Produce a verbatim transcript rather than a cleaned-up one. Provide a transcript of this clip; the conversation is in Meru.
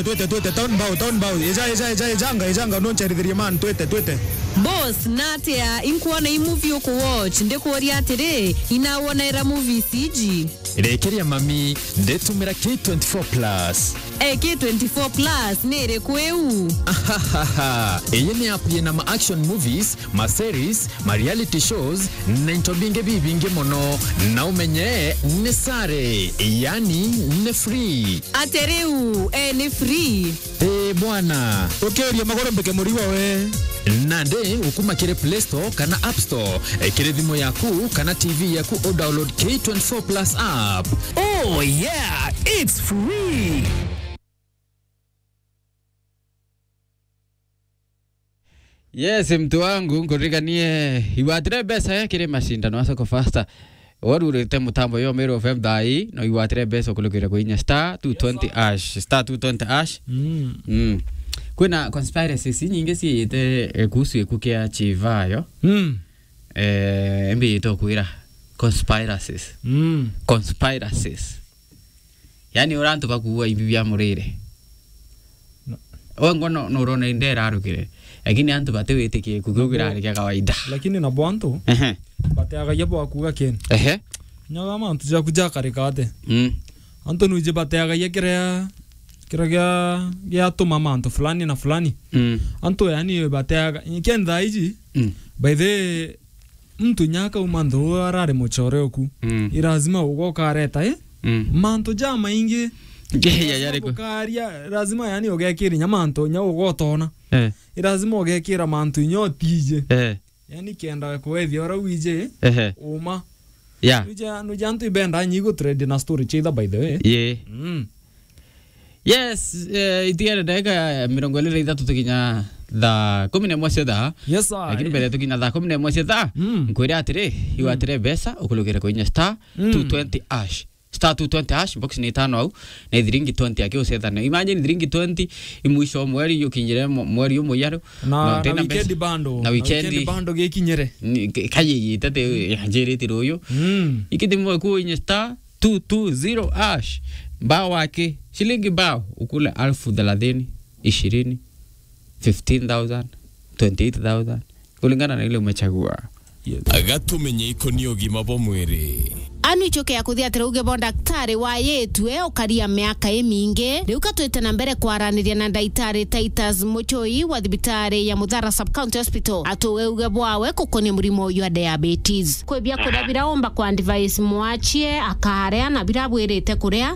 Twete, twete, town bao, town bao. Eja, eja, eja, ejanga, ejanga, noncherithirie man, twete, twete. Boss, natia inkuona i movie uku watch, ndikuuria atiri, inawonaira movies iji? Rekeria mami, ndetumira K twenty-four plus. Eh, K twenty-four plus ni iriku iu? Ahahaha. Iyi ni app yina ma action movies, ma series, ma reality shows, na into bingi bibingi mono. Na umenye ni sare, yani ni free. Ate riu, eh, ni free? Eh, bwana. Ukiuria maguru mbike murigo we. Nandi ukuma kiri Play Store kana App Store, eh, kiri thimu yaku kana T V yaku, u download K twenty-four plus app. Oh yeah, it's free. Yes, mtu wangu, nkuririkanie, igwatire mbeca ya kiri mashindano ya Soko Fasta. Warurite mutambo yo Meru F M thaa ii, no igwatire mbeca ukulukire kuinya star two twenty hash, star two twenty hash. Mm. Mm. Kwina conspiracies nyingi ciite, eh, kuhusu iku kia Chivayo. Mm. Eh, mbi ito kwira conspiracies. Mm. Conspiracies. Yani, ura antu bakuua imbi bia murire. No. We ngo no, no urona inde irarukire. Lakini antu batiwitikie ku kiu kirari kia kawaida. Lakini nabo antu, ehe, bateagagia bwa kuuga kini. Ehe. Nyaga mantu jaku jakarika ate. Mm. Antu nuji bateagagia kiria, kiria gia, giatuma mantu fulani na fulani. Mm. Antu yani bateaga, kenda iji, mm, by the muntu inya akauma nthuu arari muchore oku. Mm. I lazima ugoka areta, eh? Mm. Mantu jamaingi. Ngeya. Lazima yariku? Ukaria, lazima yani ugekira inya mantu inya ugotona. Eh. I lazima ugekira mantu inya utije. Eh. Yani kenda kwethia ura wije, ehe, uma. Yeah. Nuja, nuja antu ibenda nyigu trade na story chitha, by the way. Yeah. Mm. Yes, eh, itigere ndagika mirongo iri na ithatu tukinya thaa kumi na imwe cia thaa. Yes, sir. Lakini mbere tukinya thaa kumi na imwe cia thaa, mm, nkwire atiri, mm, igwatire mbeca, ukulukire kuinya star, mm, two twenty hash. Star two twenty hash, box ni itano au, na ithiringi twenty aki ucethane. Imagine ithiringi twenty, i mwisho wa mweri, ukinyire mwe-, mweri umwe yaru. Na, na na utina mbeca. Weekend bando. Na na weekend. Weekend bando gikinyire. Ni, ka-, kayeyite te, mm, yanjirite ruyu. Mm. Ikithimwe kuinya star, two two zero hash. Mbao wake, shilingi mbao, ukule alfu thelathini, ishirini, fifteen thousand, twenty-eight thousand, kulingana na ile umechagua. Yes. Gatumenye ikoni ugima bwa mwiri. Anu icoke ya kuthia atiri uge bo ndaktari wa yitue ukaria miaka imingi. Riu ka twite na mbere kwaraniria na ndaitari Titus Muchoi wa thibitari ya Muthara Sub County Hospital. Atuge uge bwawe kukonia murimo jwa diabetes. Kwi bia kuria bira umba kwa advice mwachie akaria na bira bwirite kuria.